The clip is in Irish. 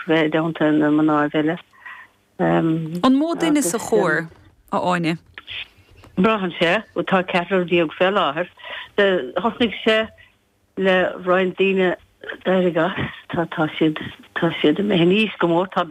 bheith i dteannta na mná eile. An mó duine sa chór, a Áine? Braitheann sé. Tá 14 fé láthair. Thosnaigh sé le roinnt daoine d'éirigh as. Tá siad, tá siad imithe in aois go mór. Tá.